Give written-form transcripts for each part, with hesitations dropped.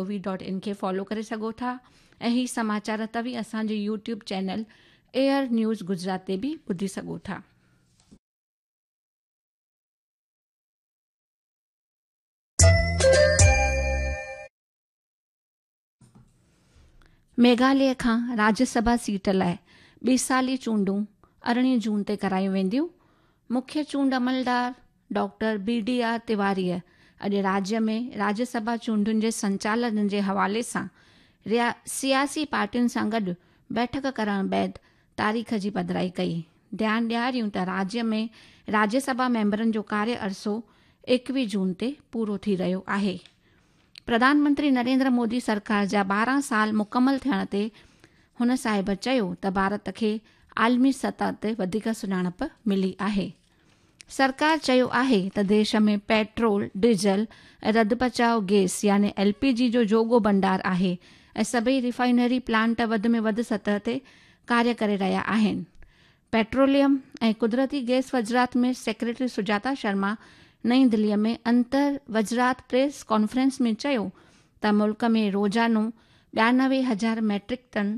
V dot in کي follow ڪري سگهو ٿا ۽ هي سماچار توهين اسان جي YouTube channel AIR news Gujarat تي به ٻڌي سگهو ٿا. ميگهاليه کان راجيه سڀا سيٽ لاء ٻه سالي چونڊون 18 جون تي ڪرايون وينديون. مکيه چونڊ عملدار ڊاڪٽر بي ڊي آر تيواريء اڄ راجيه ۾ راجيه سڀا چونڊن جي سنچالن جي حوالي سان سياسي پارٽين سان گڏ بيٺڪ ڪرڻ بعد تاريخ جي پڌرائي ڪئي. ڌيان ڏياريون ته راجيه ۾ راجيه سڀا ميمبرن جو ڪاريه عرصو 21 جون تي پورو ٿي رهيو آهي. پرڌان منتري نريندر مودي سرڪار جا 12 سال مڪمل ٿيڻ تي هن صاحب چيو ته ڀارت کي عالمي سطح تي وڌيڪ سڃاڻپ ملي آهي. سرڪار چيو آهي ته ديش ۾ پيٽرول، ڊيزل ۽ رڌ پچاء گئس يعني ايل پي جي جو جوڳو ڀنڊار آهي ۽ سڀئي ريفائنري پلانٽ وڌ ۾ وڌ سطح تي ڪاريه ڪري رهيا آهن. پيٽروليم ۽ قدرتي گئس وزارت ۾ سيڪريٽري سجاتا شرما نئين دلي ۾ انتر وزارت پريس ڪانفرنس ۾ چيو ته ملڪ ۾ روزانو 92,000 ميٽرڪ ٽن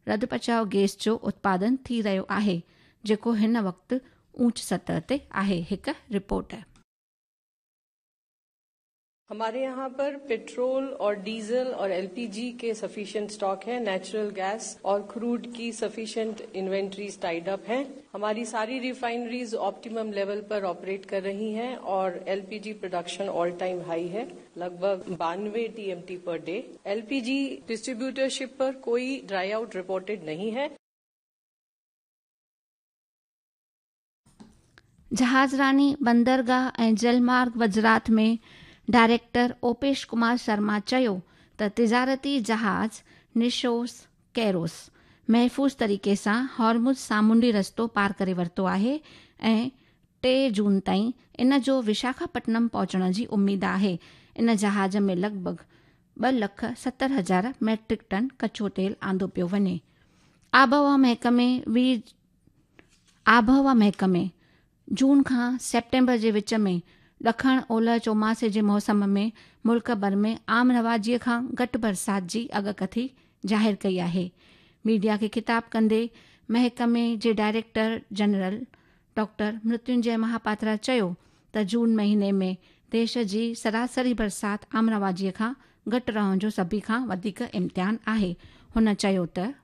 رڌ پچاء گئس جو اتپادن ٿي رهيو آهي، جيڪو هن وقت اونچ سطح تي آهي. هڪ رپورٽ. हमारे यहाँ पर पेट्रोल और डीजल और एलपीजी के सफिशिएंट स्टॉक है, नेचुरल गैस और क्रूड की सफिशिएंट इन्वेंट्रीज टाइड अप हैं। हमारी सारी रिफाइनरीज ऑप्टिमम लेवल पर ऑपरेट कर रही हैं और LPG production all time high है, लगभग 92 TMT per day. LPG distributorship पर कोई ड्राई आउट रिपोर्टेड नहीं है। जहाज़रानी, बंदरगाह ऐं जलमार्ग वज़ारत में डायरेक्टर ओपेश कुमार शर्मा चयो त तिजारती जहाज़ निशोस कैरोस महफ़ूज़ तरीक़े सां हॉर्मुज़ सामुंडी रस्तो पार करे वरितो आहे ऐं 3 जून ताईं इन जो विशाखापट्टनम पहुचण जी उमेद आहे। इन जहाज़ में लॻ ڀڳ 2,70,000 ميٽرڪ ٽن ڪچو تيل آندو پيو وڃي. آبهوا محڪمي جون کان سيپٽمبر جي وچ ۾ ڏکڻ اولهه چوماسي جي موسم ۾ ملڪ ڀر ۾ عام رواجيء کان گهٽ برسات جي اڳڪٿي ظاهر ڪئي آهي. ميڊيا کي خطاب ڪندي محڪمي جي ڊائريڪٽر جنرل ڊاڪٽر مرتيونجي مهاپاترا چيو ته جون مهيني ۾ ديش جي سراسري برسات عام رواجيء کان گهٽ رهڻ جو سڀني کان وڌيڪ امڪان آهي. هن چيو ته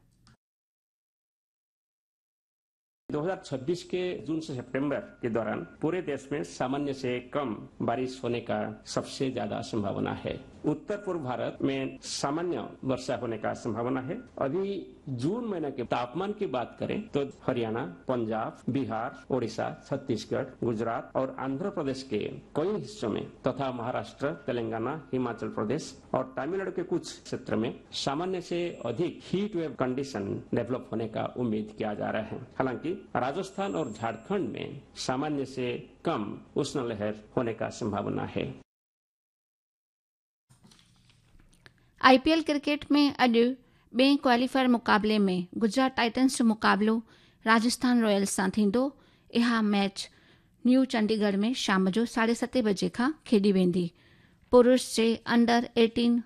2026 के जून से सितंबर के दौरान पूरे देश में सामान्य से कम बारिश होने का सबसे ज्यादा संभावना है। उत्तर पूर्व भारत में सामान्य वर्षा होने का संभावना है। अभी जून महीने के तापमान की बात करें तो हरियाणा, पंजाब, बिहार, ओडिशा, छत्तीसगढ़, गुजरात और आंध्र प्रदेश के कई हिस्सों में तथा महाराष्ट्र, तेलंगाना, हिमाचल प्रदेश और तमिलनाडु के कुछ क्षेत्र में सामान्य से अधिक हीट वेव कंडीशन डेवलप होने का उम्मीद किया जा रहा है। हालांकि राजस्थान और झारखंड में सामान्य से कम उष्ण लहर होने का संभावना है। I P L cricket में अॼु ॿिए क्वालीफायर मुक़ाबले में गुजरात टाइटन्स जो मुक़ाबिलो राजस्थान रॉयल्स सां थींदो। इहा मैच न्यू चंडीगढ़ में शाम जो 7:30 बजे खां खेॾी वेंदी। पुरुष जे अंडर 18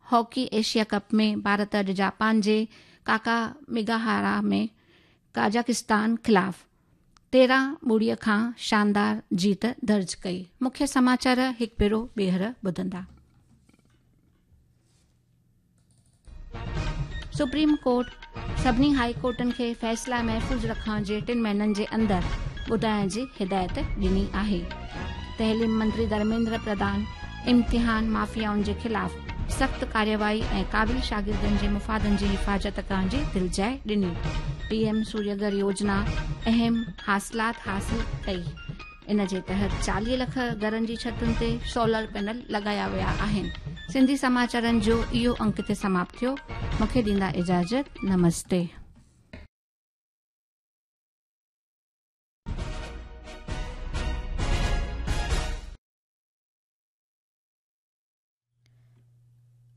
हॉकी एशिया कप में भारत अॼु जापान जे काका मेगाहारा में काजाकिस्तान ख़िलाफ़ 13-0 खां शानदार जीत दर्ज कई। मुख्य समाचार हिकु भेरो ॿीहर ॿुधंदा। सुप्रीम कोर्ट सभिनी हाई कोर्टनि खे फ़ैसिला महफ़ूज़ रखण जे 3 महीननि जे अंदरि ॿुधाइण जी हिदायत ॾिनी आहे। तइलीम मंत्री धर्मेंद्र प्रधान इम्तिहान माफियाउनि जे ख़िलाफ़ सख़्तु कार्यवाही ऐं क़ाबिल शागिर्दनि जे मुफ़ादनि जी हिफ़ाज़त करण जी दिलजाइ ॾिनी। पीएम सूर्यघर योजना अहम हासिलात हासिल कई। इन जे तहत 40 लख घरनि जी छतुनि ते सोलर पैनल लॻाया विया आहिनि। सिंधी समाचारनि जो इहो अंक हिते समाप्त थियो। मूंखे ॾींदा इजाज़त। नमस्ते।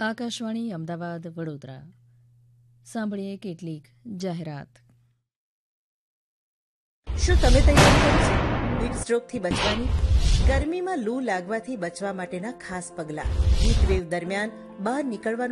આકાશવાણી અમદાવાદ વડોદરા. સાંભળીએ કેટલીક જાહેરાત. શું તમે તૈયારી કરી છે હીટ સ્ટ્રોકથી બચવાની? ગરમીમાં લૂ લાગવાથી બચવા માટેના ખાસ પગલાં. હીટવેવ દરમિયાન બહાર નીકળવાનું